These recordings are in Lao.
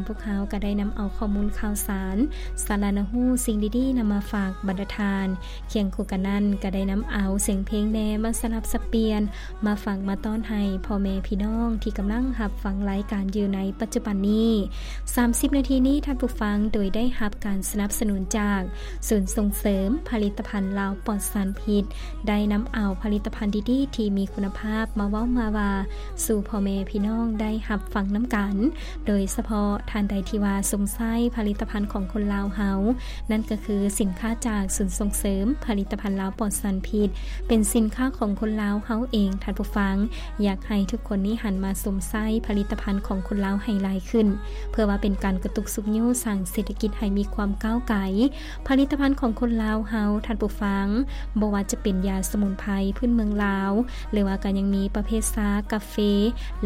ນພວກເຮົາກໍໄດ້ນຳເອົາຂໍ້ມູນຂ່າວສານ, ສາລະໜ້າຮູ້, ສິ່ງດີໆນຳມາຝາກບັນດາທ່ານ. ຄຽງຄູ່ກັນນັ້ນກໍໄດ້ນຳເອົາສຽງເພງແດ່ມາສະຫຼັບສັບປ່ຽນ ມາຝາກມາຕ້ອນໃຫ້ພໍ່ແມ່ພີ່ນ້ອງທີ່ກຳລັງຮັບຟັງລາຍການຢູ່ໃນປັດຈຸບັນນີ້. ສາມສິບນາທີນີ້ທ່ານຜູ້ຟັງໂດຍໄດ້ຮັບການສະໜັບສະໜູນຈາກສູນສົ່ງເສີມຜະລິດຕະພັນລາວປອດສານພິດ ໄດ້ນຳເອົາຜະລິດຕະພັນດີໆທີ່ມີຄຸນນະພາບມາເວົ້າມາວ່າສູ່ພໍ່ແມ່ພີ່ນ້ອງໄດ້ຮັບຟັງນຳກັນ. ໂດຍສະເພາະທ່ານໃດທີ່ວ່າຊົມໃຊ້ຜະລິດຕະພັນຂອງຄົນລາວເຮົາ, ນັ້ນກໍຄືສິນຄ້າຈາກສູນສົ່ງເສີມຜະລິດຕະພັນລາວປອດສານພິດ ເປັນສິນຄ້າຂອງຄົນລາວເຮົາເອງ. ທ່ານຜູ້ຟັງ, ຢາກໃຫ້ທຸກຄົນນີ້ຫັນມາຊົມໃຊ້ຜະລິດຕະພັນຂອງຄົນລາວໃຫ້ຫຼາຍຂຶ້ນ ເພື່ອວ່າເປັນການກະຕຸກຊຸກຍູ້ສ້າງເສດຖະກິດໃຫ້ມີຄວາມກ້າວໄກ. ຜະລິດຕະພັນຂອງຄົນລາວເຮົາ, ທ່ານຜູ້ຟັງ, ບໍ່ວ່າຈະເປັນຢາສະໝຸນໄພພື້ນເມືອງລາວ ຫຼືວ່າກໍຍັງມີປະເພດຊາ, ກາເຟ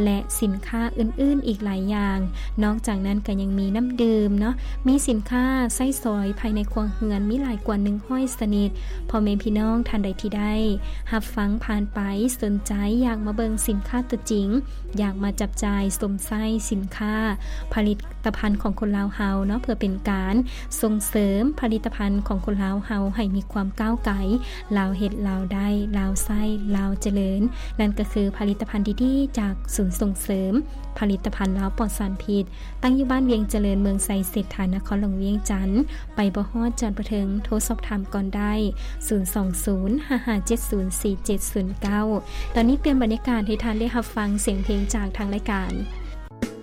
ແລະ ສິນຄ້າອື່ນໆອີກຫຼາຍຢ່າງ. ນອກຈາກນັ້ນກໍຍັງມີນ້ຳດື່ມເນາະ, ມີສິນຄ້າໃຊ້ສອຍພາຍໃນຄົວເຮືອນມີຫຼາຍກວ່າໜຶ່ງຮ້ອຍຊະນິດ. ພໍ່ແມ່ພີ່ນ້ອງທ່ານໃດທີ່ໄດ້ຮັບຟັງຜ່ານໄປ, ສົນໃຈຢາກມາເບິ່ງສິນຄ້າຕົວຈິງ, ຢາກມາຈັບຈ່າຍຊົມໃຊ້ສິນຄ້າ ຜະລິດຕະພັນຂອງຄົນລາວເຮົາເນາະ, ເພື່ອເປັນການສົ່ງເສີມຜະລິດຕະພັນຂອງຄົນລາວເຮົາໃຫ້ມີຄວາມກ້າວໄກ, ລາວເຮັດ, ລາວໄດ້, ລາວໃຊ້, ລາວຈະເລີນ. ນັ້ນກໍຄືຜະລິດຕະພັນດີໆຈາກສູນສົ່ງເສີມຜະລິດຕະພັນລາວປອດສານພິດ, ຕັ້ງຢູ່ບ້ານວຽງຈະເລີນ, ເມືອງໄຊເສດຖາ, ນະຄອນຫຼວງວຽງຈັນ. ໄປບໍ່ຮອດ, ຈອດບໍ່ເຖິງ, ໂທສອບຖາມກ່ອນໄດ້, ສູນສອງສູນ ຫ້າຫ້າເຈັດສູນ ສີ່ເຈັດສູນເກົ້າ. ຕອນນີ້ປ່ຽນບັນຍາກາດໃຫ້ທ່ານໄດ້ຮັບຟັງສຽງເພງຈາກທາງລາຍການ.